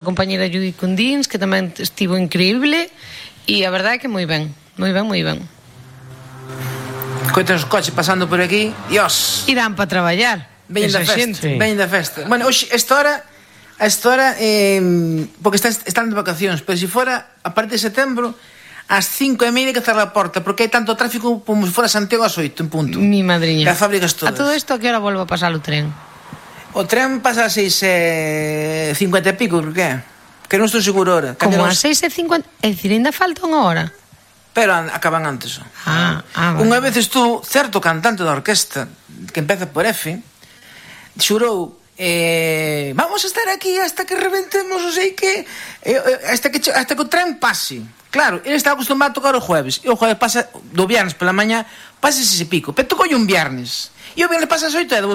compañera Judy Cundins, que tamén estivo increíble, e a verdade é que moi ben. Coitan os coches pasando por aquí, Dios. Irán para traballar. Veñen da festa, veñen da festa. Bueno, hoxe, esta hora, porque están de vacacións, pero se fora a partir de setembro, ás 5:30 que cerra a porta, porque hai tanto tráfico como se fora Santiago ás 8 en punto. Mi madriña. As fábricas todas. A todo isto, a que hora volvo a pasar o tren? O tren pasa a 6:50 e pico, por que? Que non estou seguro ahora. Como a 6:50? É dicir, ainda falta unha hora. Pero acaban antes. Vale. Unha vez estuvo certo cantante da orquesta, que empeza por F, xurou, vamos a estar aquí hasta que reventemos, non sei que, hasta que o tren pase. Claro, ele estaba acostumado a tocar o jueves, e o jueves pasa, do viernes pola mañá, pasa ese pico, pero tocou un viernes. E o viernes pasa as 8:02.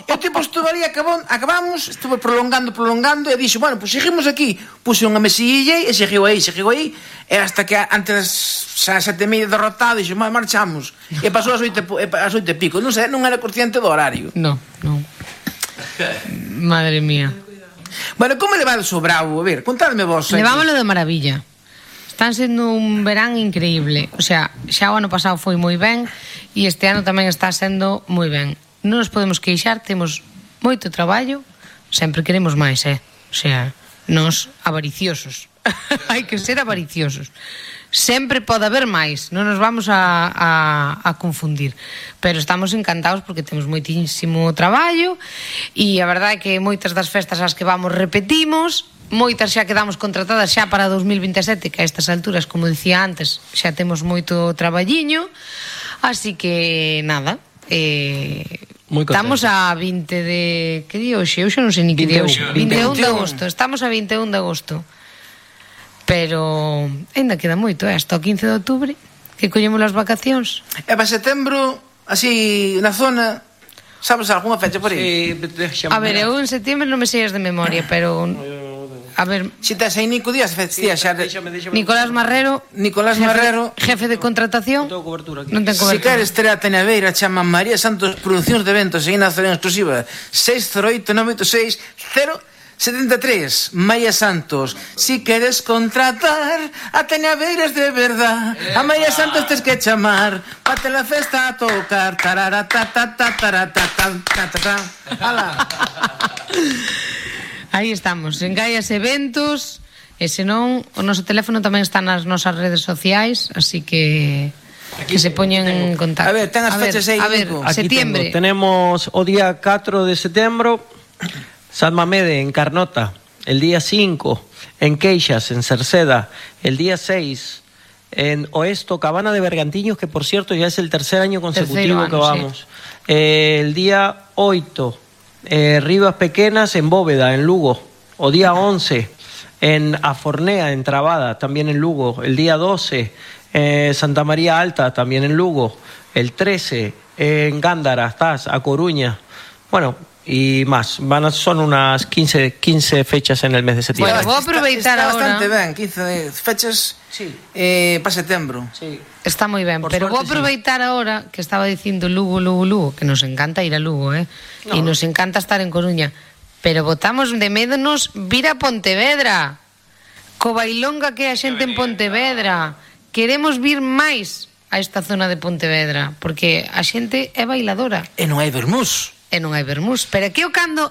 E o tipo estuvo ali, acabamos, estuvo prolongando, e dixo, bueno, pues seguimos aquí. Puse unha mesilla e seguiu aí, e hasta que antes das 7:30 derrotado, dixo, marchamos. E pasou as 8:00 non sei, non era consciente do horario. No. Madre mía. Bueno, como levades o Bravo? A ver, contadme vos. Levámoslo de maravilla. Están sendo un verán increíble. O sea, xa o ano pasado foi moi ben e este ano tamén está sendo moi ben. Non nos podemos queixar, temos moito traballo, sempre queremos máis, O sea, nos avariciosos. Hai que ser avariciosos. Sempre pode haber máis, non nos vamos a confundir. Pero estamos encantados porque temos moitísimo traballo e a verdade é que moitas das festas ás que vamos repetimos, moitas xa quedamos contratadas xa para 2027, que a estas alturas, como dicía antes, xa temos moito traballiño, así que nada, estamos a 20 de... que día hoxe? Hoxe non sei ni que día hoxe. 21 de agosto, estamos a 21 de agosto. Pero ainda queda moito, hasta o 15 de outubro, que collemos as vacacións. E para setembro, así, na zona, sabes algunha fecha por aí? A ver, eu en setembro non me sei as de memoria, pero... A ver... Si tes aí Nico Díaz, Nicolás Marrero, jefe de contratación. Non ten cobertura. Si queres ter a Tenaveira, chama María Santos Produccións de Eventos en nacional exclusiva 608-986-073. María Santos, si queres contratar a Teñaveiras de verdad, a María Santos tes que chamar pate la festa a tocar Ala. Aí estamos, en Gaias Eventos, e senón o noso teléfono tamén está nas nosas redes sociais, así que se poñen en contacto. A ver, ten as fechas aí, Nico. Septiembre. Tenemos o día 4 de setembro San Mamede en Carnota, el día 5 en Queixas, en Cerceda, el día 6 en Oesto, Cabana de Bergantiños, que por cierto ya es el tercer año consecutivo que vamos. Sí. El día 8 Rivas Pequenas en Bóveda, en Lugo. O día 11 en Afornea, en Trabada, también en Lugo. El día 12 Santa María Alta, también en Lugo. El 13 en Gándara, estás, a Coruña. Bueno, y más. Son unas 15 fechas en el mes de septiembre. Bueno, voy a aproveitar está ahora. Bastante ben, 15 fechas sí. Para setembro. Sí. Está moi ben, por pero vou suerte, aproveitar ahora que estaba dicindo Lugo, que nos encanta ir a Lugo, e nos encanta estar en Coruña, pero botamos de menos vir a Pontevedra, co bailonga que é a xente en Pontevedra. Queremos vir máis a esta zona de Pontevedra, porque a xente é bailadora. E non hai vermús. E non hai vermús, pero que o cando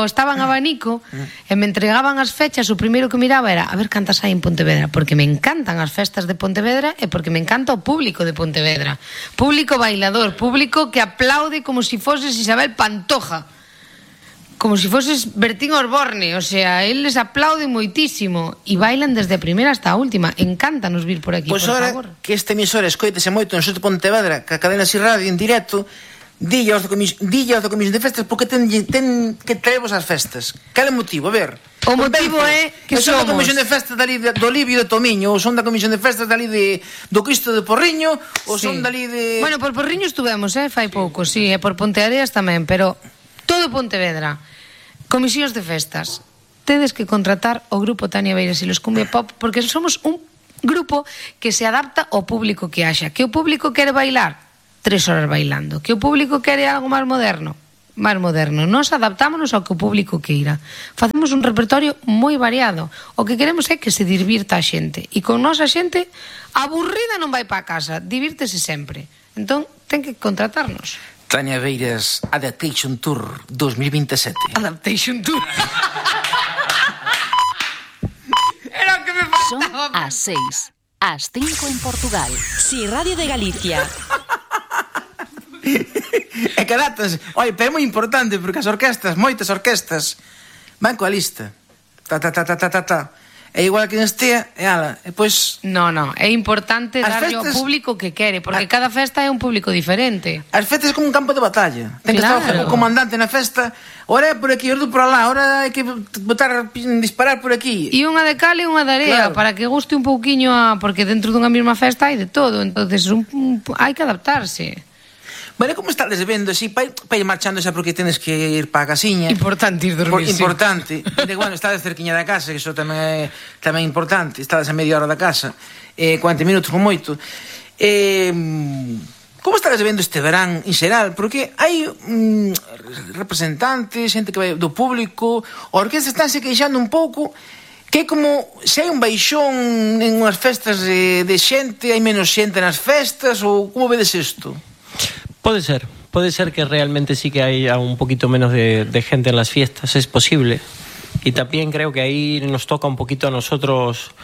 estaban a abanico e me entregaban as fechas, o primeiro que miraba era a ver cantas hai en Pontevedra, porque me encantan as festas de Pontevedra e porque me encanta o público de Pontevedra, público bailador, público que aplaude como si foses Isabel Pantoja, como si foses Bertín Osborne, o sea, eles aplauden moitísimo e bailan desde a primeira hasta a última. Encántanos vir por aquí, pues por ahora, favor. Que este emisor escoitese moito no sur de Pontevedra, que a cadena Si Radio en directo, dille aos da Comisión de Festas porque ten que traervos as festas. Cal é o motivo? A ver. O motivo é que son somos... da Comisión de Festas dali do Livio de Tomiño, ou son da Comisión de Festas dali do Cristo de Porriño, ou son dali de... Bueno, por Porriño estuvemos, fai pouco, sí, e por Ponteareas tamén, pero todo Pontevedra. Comisións de Festas. Tedes que contratar o grupo Tania Beiras e los Cumbia Pop porque somos un grupo que se adapta ao público que haxa. Que o público quere bailar, 3 horas bailando. Que o público quere algo máis moderno, máis moderno. Nos adaptámonos ao que o público queira. Facemos un repertorio moi variado. O que queremos é que se divirta a xente. E con nosa xente, aburrida non vai para casa, divírtese sempre. Entón, ten que contratarnos. Tania Beiras, Adaptation Tour 2027. Adaptation Tour. Era o que me faltaba. Son as 6, as 5 en Portugal. Si, Radio de Galicia. E que datas, oi, pero é moi importante porque as orquestas, moitas orquestas van coa lista. É igual que en Estea, e ala, e pois... No, é importante As darlle ao festas- público que quere, porque cada festa é un público diferente. As festas é como un campo de batalla. Ten que Claro. estar o comandante na festa. Ora é por aquí, ora por alá, ora hai que disparar por aquí. E unha de cal e unha de area, Claro. para que guste un pouquiño porque dentro dunha mesma festa hai de todo, entonces hai que adaptarse. Bueno, como estades vendo así, para ir marchando xa porque tenes que ir para a casiña. Importante ir dormir, sí. Importante. E, bueno, estades cerquiña da casa, que iso tamén é importante. Estades a media hora da casa, 40 minutos con moito. Como estades vendo este verán en xeral? Porque hai representantes, xente que vai do público, a orquesta estánse queixando un pouco que é como se hai un baixón en unhas festas de xente, hai menos xente nas festas, ou como vedes isto? Puede ser que realmente sí que haya un poquito menos de gente en las fiestas, es posible. Y también creo que ahí nos toca un poquito a nosotros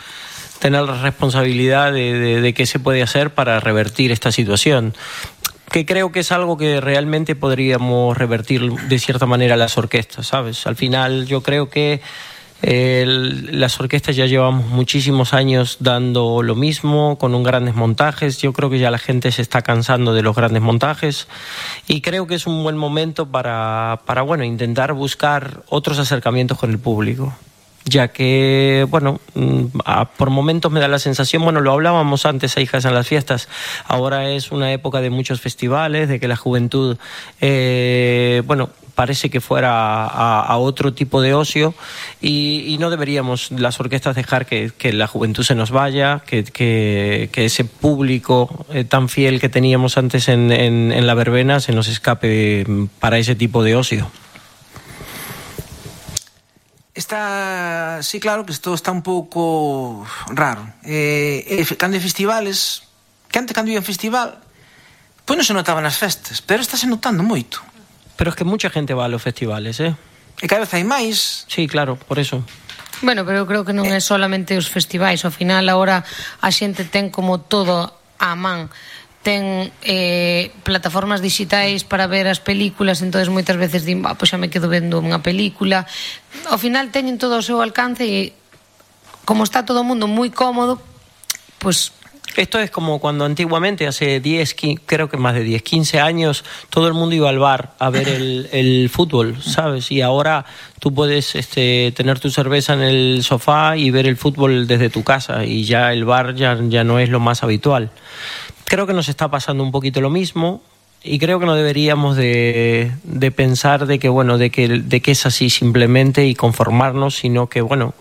tener la responsabilidad de qué se puede hacer para revertir esta situación. Que creo que es algo que realmente podríamos revertir de cierta manera las orquestas, ¿sabes? Al final yo creo que las orquestas ya llevamos muchísimos años dando lo mismo, con un grandes montajes. Yo creo que ya la gente se está cansando de los grandes montajes y creo que es un buen momento para bueno, intentar buscar otros acercamientos con el público. Ya que, bueno, por momentos me da la sensación, bueno, lo hablábamos antes a Hijas en las Fiestas, ahora es una época de muchos festivales, de que la juventud, bueno, parece que fuera a otro tipo de ocio y no deberíamos las orquestas dejar que la juventud se nos vaya, que ese público tan fiel que teníamos antes en la verbena se nos escape para ese tipo de ocio. Está, sí, claro que isto está un pouco raro. Cando hai festivales, que antes cando ia un festival, pois non se notaba nas festas, pero está se notando moito. Pero es que mucha gente va a los festivales, ¿eh? E cada vez hai máis. Sí, claro, por eso. Bueno, pero eu creo que non é solamente os festivais, ao final agora a xente ten como todo á man. Ten plataformas digitais para ver as películas, entonces moitas veces din, pois xa me quedo vendo unha película. Ao final teñen todo ao seu alcance e como está todo o mundo moi cómodo, pues... Esto es como cuando antiguamente, hace 10, creo que más de 10, 15 años, todo el mundo iba al bar a ver el fútbol, ¿sabes? Y ahora tú puedes tener tu cerveza en el sofá y ver el fútbol desde tu casa y ya el bar ya no es lo más habitual. Creo que nos está pasando un poquito lo mismo y creo que no deberíamos de pensar de que, bueno, de que es así simplemente y conformarnos, sino que, bueno,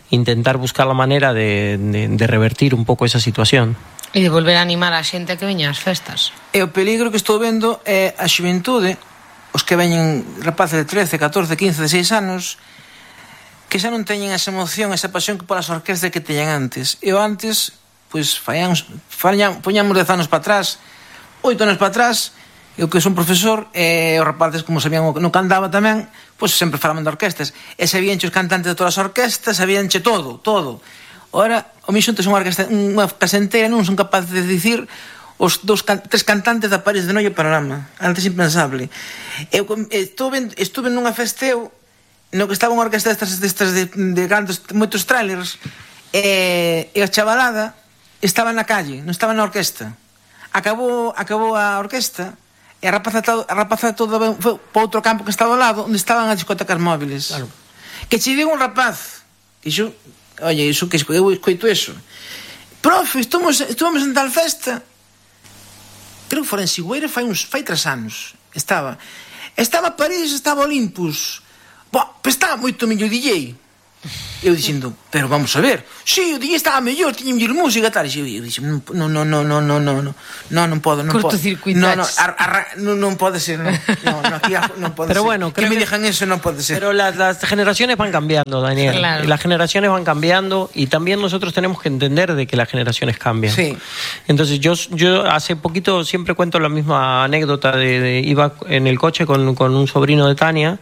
intentar buscar la manera de revertir un poco esa situación. E de volver a animar a xente a que veña ás festas. E o peligro que estou vendo é a xuventude, os que veñen rapaces de 13, 14, 15, 16 anos, que xa non teñen esa emoción, esa pasión que polas orquestas que teñan antes. E o antes, pois, poñamos 10 anos para atrás, 8 anos para atrás, eu que son profesor, e os rapaces, como sabían no que andaba tamén, pois sempre falaban de orquestas. E sabíanche os cantantes de todas as orquestas, sabíanche todo. Ora, o mi xunto son unha casa entera, non son capaces de dicir os tres cantantes da París de Noia Panorama. Antes impensable. Eu estuve nunha festeo no que estaba unha orquesta destas de grandes, moitos trailers, e a chavalada estaba na calle, non estaba na orquesta. Acabou a orquesta e a rapaza toda foi para outro campo que estaba ao lado, onde estaban as discotecas móviles. Claro. Que che digo un rapaz, iso, oye, iso que eu escoito eso. Profe, estuvamos en tal festa. Creo que fora en Sigüeira fai 3 anos. Estaba París, estaba Olympus. Pues estaba moito mellor DJ. Eu dicindo, pero vamos a ver. Si, o día estaba mellor, tiña mellor música, tal. E eu dixen, non podo. Cortocircuitaches. Non pode ser, non aquí non pode Pero ser. bueno, que creo me que- digan eso non pode ser. Pero las generaciones van cambiando, Daniel. Claro. Y las generaciones van cambiando y también nosotros tenemos que entender de que las generaciones cambian. Sí. Entonces yo hace poquito siempre cuento la misma anécdota iba en el coche con un sobrino de Tania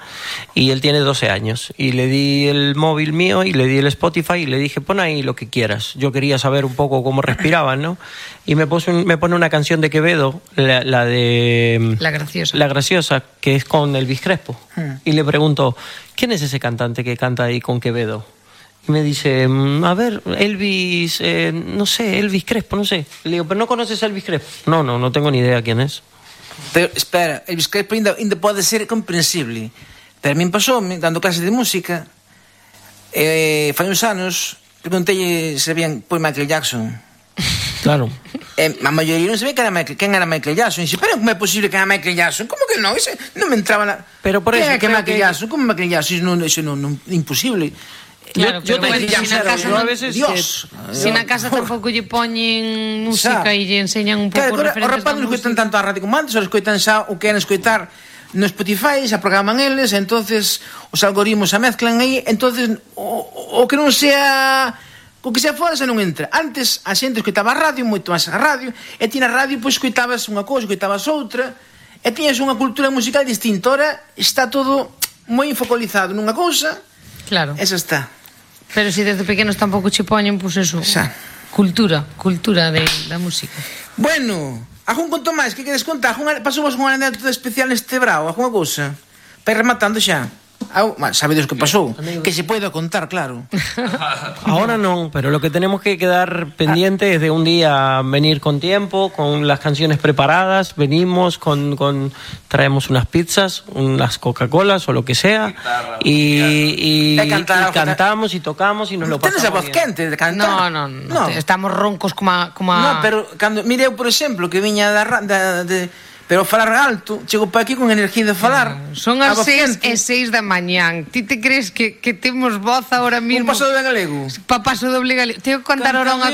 y él tiene 12 años y le di el móvil mío y le di el Spotify y le dije pon ahí lo que quieras. Yo quería saber un poco cómo respiraban, ¿no? Y me pone una canción de Quevedo, la de La graciosa. La Graciosa, que es con Elvis Crespo. Y le pregunto, ¿quién es ese cantante que canta ahí con Quevedo? Y me dice, a ver, Elvis, no sé, Elvis Crespo, no sé. Le digo, ¿pero no conoces a Elvis Crespo? No tengo ni idea quién es. Pero, espera, Elvis Crespo ainda pode ser comprensible. Pero a min pasoume, dando clases de música, fai uns anos, preguntei se sabían por Michael Jackson. Claro. A maioría non sabía quen era Michael Jackson. E dixo, pero como é posible que era Michael Jackson? Como que non? Ese non me entraba na... Pero por Quen eso é que creo Michael que- Jackson? Como Michael Jackson? Eso non imposible. Claro, yo pero te bueno, diría, si na claro, casa yo a non- veces Dios. Si na casa tampouco lle poñen música e lle enseñan un pouco Claro, os referentes rapazes non da escoitan música. tanto a radio como antes, os escoitan xa o que queren escoitar no Spotify, xa programan eles, entonces os algoritmos se mezclan aí, entonces o que non sea... O que sea fora xa non entra. Antes a xente escoitaba a radio, moito máis a radio, e ti na radio pois escoitabas unha cousa, escoitabas outra, e tiñas unha cultura musical distinta. Ora está todo moi focalizado nunha cousa, Claro. esa está. Pero si desde pequenos tampouco che poñen, pois eso. Xa. Cultura da música. Bueno, algún conto máis que queres contar? Pasou unha anécdota especial neste brao? Alguna cousa? Para ir rematando xa. Sabedes o que pasou? Que se poida contar, claro. Ahora no, pero lo que tenemos que quedar pendiente es de un día venir con tiempo, con las canciones preparadas, venimos traemos unas pizzas, unas Coca-Colas o lo que sea y cantamos y tocamos y nos lo Tenes a pasamos voz bien. quente de cantar? No. Estamos roncos como a... No, pero cando mire eu, por exemplo, que viña pero falar alto, chego para aquí con energía de falar. Son a as voz 6:06 da mañán. Ti te crees que temos voz ahora Un mismo? paso de galego. Pa paso doble galego. Tengo que contar ahora unha